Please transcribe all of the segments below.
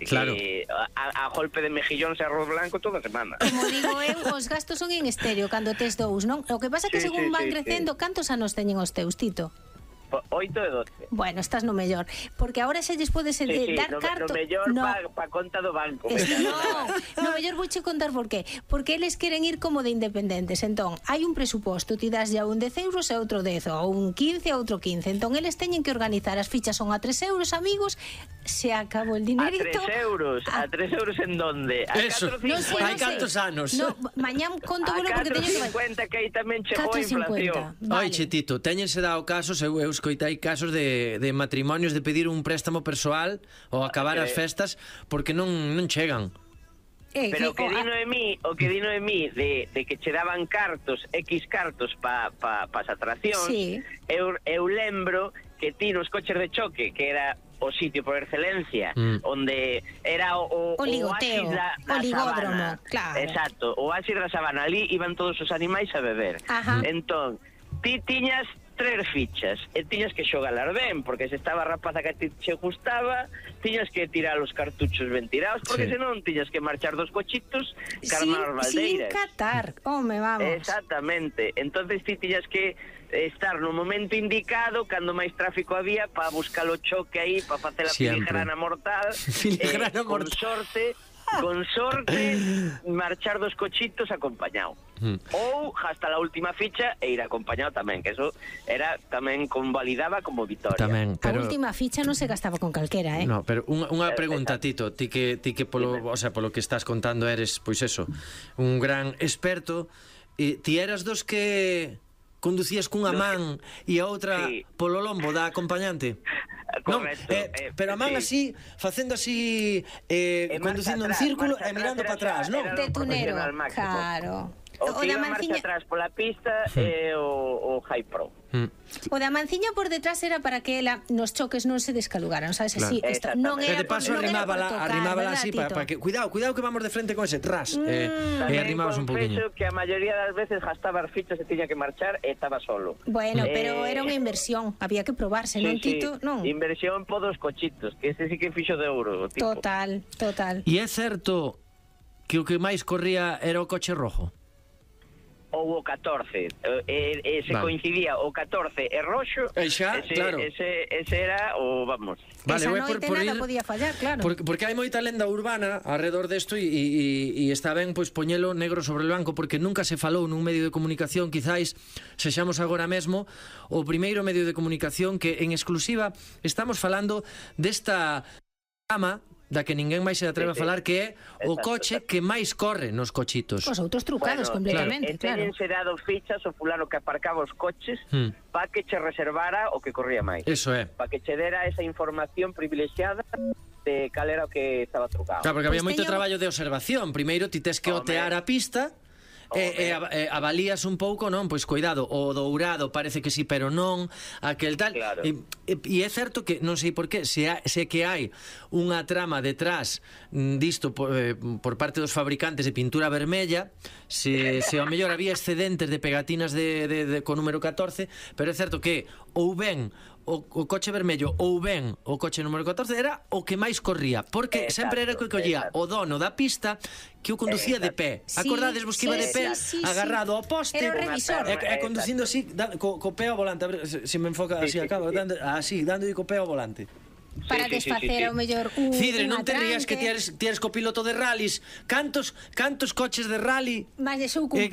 que a golpe de mejillóns e arroz blanco toda semana. Como digo eu, os gastos son en estéreo cando tes dous, non? O que pasa é que según van crecendo, cantos anos teñen os teus, Tito? 8 e 12. Bueno, estás no mellor, porque agora xa lles podes dar carto. No mellor pa conta do banco. No mellor vouche contar por qué. Porque eles queren ir como de independentes. Entón, hai un presuposto, ti das ya un 10 euros e outro 10, ou un 15 e outro 15. Entón, eles teñen que organizar, as fichas son a 3 euros, amigos, se acabou el dinerito. A 3 euros? A 3 euros en donde? Eso, hai cantos anos? No, mañán conto volo porque teño que... 4,50 que aí tamén chegou a inflación. Oiche, Tito, teñense dado casos, eu escoitei casos de matrimonios de pedir un préstamo persoal ou acabar as festas porque non chegan. Pero o que di Noemí de que che daban X cartos pa as atraccións, eu lembro que ti nos coches de choque, que era o sitio por excelencia, onde era o ligoteo, o ligódromo, claro. Exacto, o oasis da sabana, ali iban todos os animais a beber. Entón, ti tiñas 3 fichas e tiñas que xogalar ben, porque se estaba a rapaza que a ti che gustaba, tiñas que tirar os cartuchos ben tirados, porque senón tiñas que marchar dos cochitos carnar as baldeiras. Sin catar, home, vamos. Exactamente, entonces ti tiñas que estar no momento indicado, cando máis tráfico había, para buscar o choque aí, para facer a filigrana mortal, con sorte marchar dos cochitos acompañado. Ou hasta la última ficha e ir acompañado tamén, que eso era tamén convalidaba como vitoria. Tamén, pero... A última ficha non se gastaba con calquera, No, pero unha pregunta, Tito, ti que polo que estás contando eres, pois eso, un gran experto, ti eras dos que conducías cunha man e a outra polo lombo da acompañante? Correcto. Pero a man así, facendo así, conducindo en círculo e mirando para atrás, non? De tunero, claro. O que iba marcha atrás pola pista é o High Pro. O da manciña por detrás era para que ela nos choques non se descalugaran, sabes? Así, non era. E de paso arrimábala así para que cuidado que vamos de frente con ese tras. E arrimabas un poquinho. Que a maioría das veces gastaba as fichas e tiña que marchar e estaba solo. Bueno, pero era unha inversión, había que probarse, non, Tito? Non. Inversión por dos cochitos, que ese sí que fixo de euro, tipo. Total. E é certo que o que máis corría era o coche rojo? Ou o 14, se coincidía o 14 e roxo, claro. Ese era o, vamos. Esa noite nada podía fallar, claro. Porque hai moita lenda urbana alrededor desto e está ben pois poñelo negro sobre o blanco, porque nunca se falou nun medio de comunicación, quizáis sexamos agora mesmo o primeiro medio de comunicación que en exclusiva estamos falando desta gama da que ninguén máis se atreve a falar, que é o coche que máis corre nos cochitos. Os outros trucados completamente, claro. E teñense dado fichas o fulano que aparcaba os coches para que che reservara o que corría máis. Eso é. Para que che dera esa información privilexiada de cal era o que estaba trucado. Claro, porque había moito traballo de observación. Primeiro ti tes que otear a pista e avalías un pouco, non? Pois cuidado, o dourado parece que sí, pero non, aquel tal. Claro. E é certo que, non sei por qué, se que hai unha trama detrás disto por parte dos fabricantes de pintura vermella, se ao mellor había excedentes de pegatinas con número 14, pero é certo que ou ben o coche vermello ou ben o coche número 14 era o que máis corría, porque sempre era o que collía o dono da pista que o conducía de pé. Acordades vos que iba de pé agarrado ao poste e conducindo así co pé ao volante? A ver se me enfoca así, acaba dando co pé ao volante. Para desfacer ao mellor Cidre, non te rías que tienes copiloto de rallies. Cantos coches de rally? Mas de seu cumpe.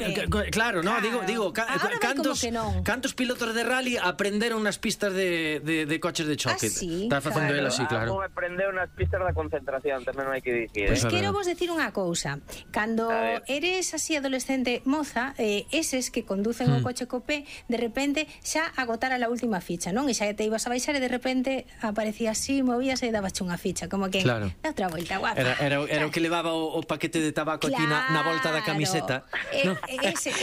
Claro, no, digo cantos pilotos de rally aprenderon nas pistas de coches de choque. Está facendo el así, claro. Aprendeu nas pistas da concentración, tamén non hai que dicir. Pois quero vos decir unha cousa. Cando eres así adolescente moza, eses que conducen o coche copé, de repente xa agotara a última ficha, non? E xa te ibas a baixar e de repente aparecía así, movíase e dabache unha ficha, como que dá outra volta, guapa. Era o que levaba o paquete de tabaco aquí na volta da camiseta. Ese.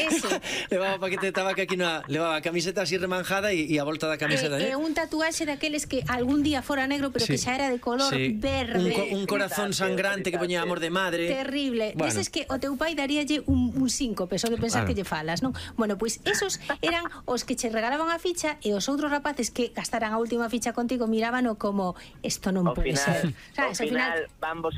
Levaba o paquete de tabaco aquí levaba a camiseta así remanjada e a volta da camiseta. Un tatuaxe daqueles que algún día fora negro, pero que xa era de color verde. Un corazón sangrante que poñía amor de madre. Terrible. Dices que o teu pai daríalle un síncope só de pensar que lle falas, non? Bueno, pois esos eran os que che regalaban a ficha e os outros rapaces que gastaran a última ficha contigo mirábano como esto non pode ser. Ao final van vos